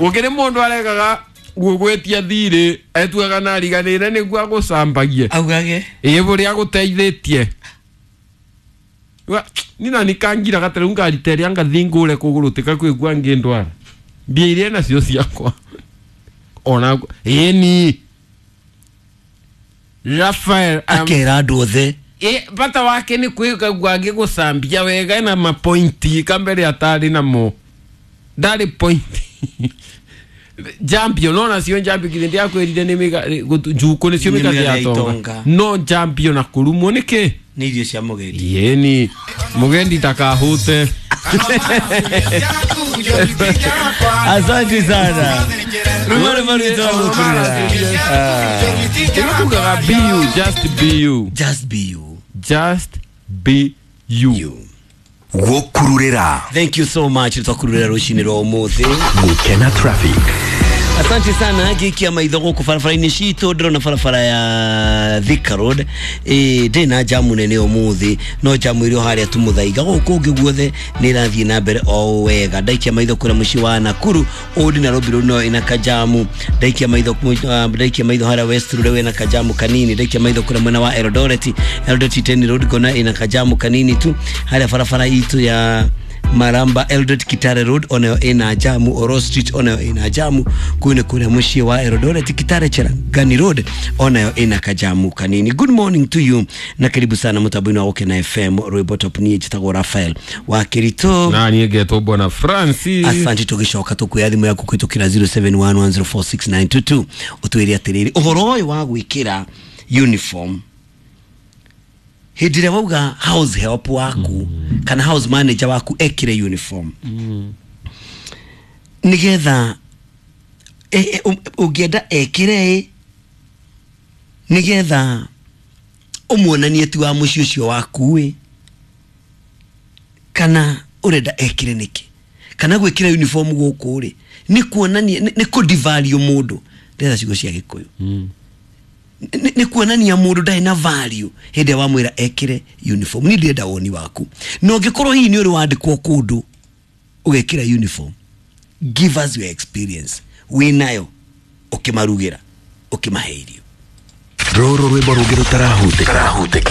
Gũkĩrĩ mũndũ aregaga gũgwĩtia thirĩ etuaga na ariganĩre nĩguo agũcambagie. Augage Ĩ bũrĩa agũteithĩtie. Nina nikangira gatarĩ ngarita ĩrĩa ngathi ngũre kũgũrũ tika kwĩgua ngĩndwara. Mbia iria nacio ciakwa. Ona ĩni. Rafael akera andũ othe. Bata wake nĩ kwĩgagua agĩgũcambia wega na mapointi kambere atarĩ namo. Ndarĩ pointi. Jambio no nacio njambio githĩ ndiakwĩrire nĩ njukũ nĩcio Nĩ mĩgathe mĩgathe ya ya tonga. itonga. No njambio na kũrumwo nĩkĩ? Nĩ irio cia mũgendi. Yeni mugendi takahute. Asante sana. Rwimbo rwitwa gũkurura. Ĩno be you, just be you. Just be you. Just be you. You. Gũkururĩra. Thank you so much twakururira rũcinĩ rwa ũmũthĩ. Gũkena traffic. Asante sana ngikia maitho gũkũ barabara-inĩ citũ ndĩrona barabara ya Thika Road ndĩ na jamu nene ũmũthĩ no jamu ĩrĩ o harĩa tu Mũthaiga gũkũ ũngĩ guothe nĩ ĩrathiĩ na mbere o wega. Ndaikia maitho kũrĩa mũciĩ wa Nakuru Old Nairobi Road no ĩna kajamu. Ndaikia maitho ndaikia maitho harĩa West Road ĩna kajamu kanini. Ndaikia maitho kũrĩa mwena wa Eldoret Eldoret 10 Road ngona ĩna kajamu kanini tu harĩa barabara itũ ya Maramba Eldoret Kitale Road onayo ina jamu. Oro Street onayo ina jamu. Kuu nĩ kũrĩa mũciĩ wa Eldoret Kitale Cherangani Road onayo ina kajamu kanini. Good morning to you na karibu sana mũtambo-inĩ wa Gũkena FM. Rwĩmbo top niĩ njĩtagwo Rafael wa Kirito. Na niĩ ngetwo Bwana Francis. Asante tũgĩcoka tũkuoya thimũ yaku kũhĩtũkĩra 0711046922 ũtwĩre atĩrĩrĩ ũhoro ũyũ wa gwĩkĩra uniform hĩndĩ ĩrĩa wauga house help waku kana house manager waku ekĩre uniform nĩgetha ũngĩenda ekĩre ĩ nĩgetha ũmuonanie ti wa mũciĩ ũcio waku ĩ kana ũrenda ekĩre nĩkĩ kana gwĩkĩra uniform gũkũ rĩ nĩ kuonania nĩ kũ-devalue mũndũ ndĩrenda ciugo cia Gĩkũyũ nĩ kuonania mũndũ ndarĩ na value hĩndĩ ĩrĩa wamwĩra ekĩre uniform. Niĩ ndĩrenda woni waku na ũngĩkorwo hihi nĩ ũrĩ wandĩkwo kũndũ ũgekĩra uniform, give us your experience wĩnayo ũkĩmarugĩra ũkĩmahe irio. Rũrũ rwĩmbo rũngĩ rũtarahutĩka.